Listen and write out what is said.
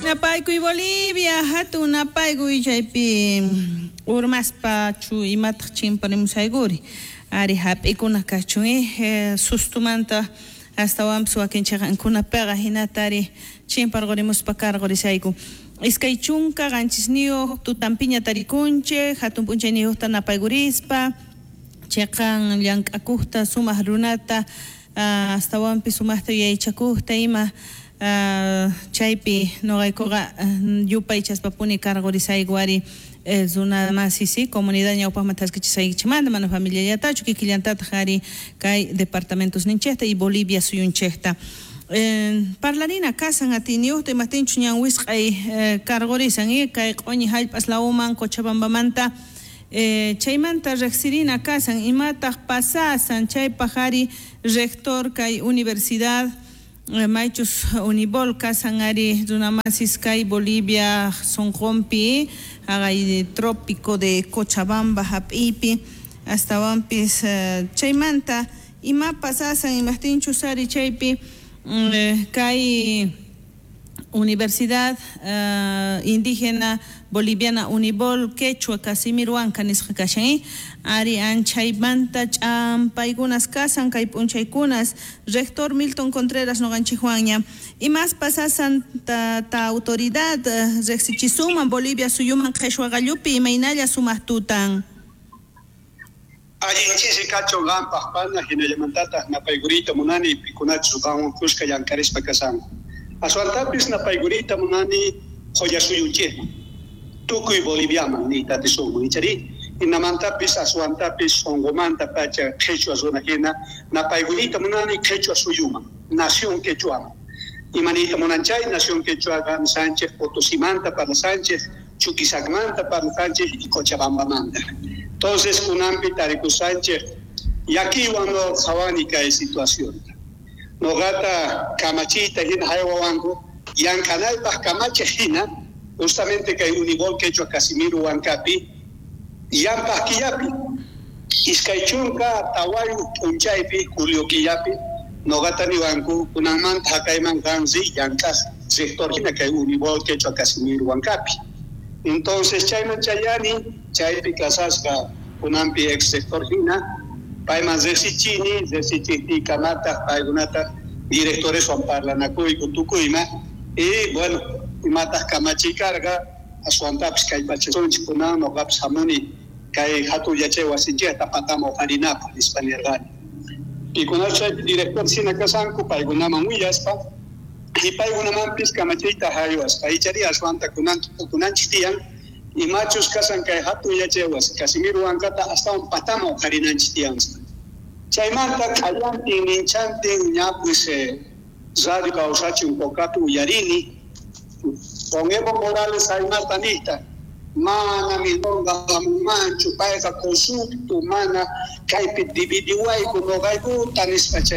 Napaykuy Bolivia, hatun napaykuy chaypi urmaspa chu imataq chimparimusaykuri. Ari hap'ikuna kachun sustumanta astawanpis wakin chiqankunapiqa hinata ari chimparqurimuspa karqurisayku. 27 tutanpiña tarikunchik, hatun p'unchayniyuqta napaykurispa, chiqan llank'akuqta sumaq runata astawanpis sumaqta yuyaychakuqta ima chaypi nuqaykuqa yupaychaspapuni karqurisayku ari runa masi comunidad ñawpaqman thaskichisaykichikmanta mana familiallatachu kikillantataq ari kay departamentos ninchikta y Bolivia suyunchikta. Parlarina kasan atiyniyuqta imaptinchus ñan wisq'ay karqurisan kay q'uñi hallp'as lawman Cochabambamanta chaymanta riqsirina kasan imataq pasasan chaypaq ari rector kay universidad maychus Unibol kasan ari runamasis kay Bolivia sunqunpi haqay trópico de Cochabamba hap'iypi astawanpis chaymanta ima pasasan imaptinchus ari chaypi kay Universidad Indígena Boliviana Unibol Quechua Casimiro Huanca nisqa kashan ari anchaymanta ch'ampaykunas kasan kay p'unchaykunas rector Milton Contreras nuqanchikwanña imas pasasan ta autoridad riqsichisunman Bolivia suyuman qhichwa qallupi imaynalla sumaq tutan. Allin ch'isi kachun qampaq pana hinallamantataq napaykuriyta munani pikunachus qanwan kuska llankarispa kasanku. Aswantapis napaykuriyta munani qhullasuyunchikman tukuy Boliviaman niyta atisunman ichari hinamantapis aswantapis sunqumanta pacha qhichwa runa hina napaykuriyta munani qhichwa suyuman nación quechuaman. Imaniyta munan chay nación quechuaqa Sánchez Potosimanta parlasanchik Chuquisacmanta parlasanchik y Cochabambamanta. Entonces kunanpi tarikusanchik llakiywan no qhawani kay situacionta. Noqata kamachiyta hina haywawanku llank'anaypaq kamachiq hina justamente kay Unibol Quechua Casimiro Huancapi llampaq killapi 24 p'unchaypi julio killapi noqata niwanku kunanmanta haqayman qan riy llank'aq rector hina kay Unibol Quechua Casimiro Huancapi. Entonces chayman chayani chaypi kasasqa kunanpi ex rector hina payman riqsichini riqsichiqtiykamataq paykunataq directoreswan parlanakuyku tukuyma y bueno imataq kamachiy karqa aswantapis kallpachasunchik kunan nuqapis hamuni kay hatun yachay wasinchikta pataman uqharinapaq nispa nirqani. Pikunachus chaypi director hina kasanku paykunaman willaspa y paykunamanpis kamachiyta haywaspa ichari aswanta kunan tukunanchik tiyan imachus kasan kay hatun yachay wasi Casimiro Huancata astawan pataman uqharinanchik tiyan. Chaymanta q'allantin ninchantin ña pues radio kawsachun Cocapi uyarini con Evo Morales aymata niyta mana milonga hamunmanchu payqa corrupto mana kaypi dividiwayku nuqaykuta nispa chay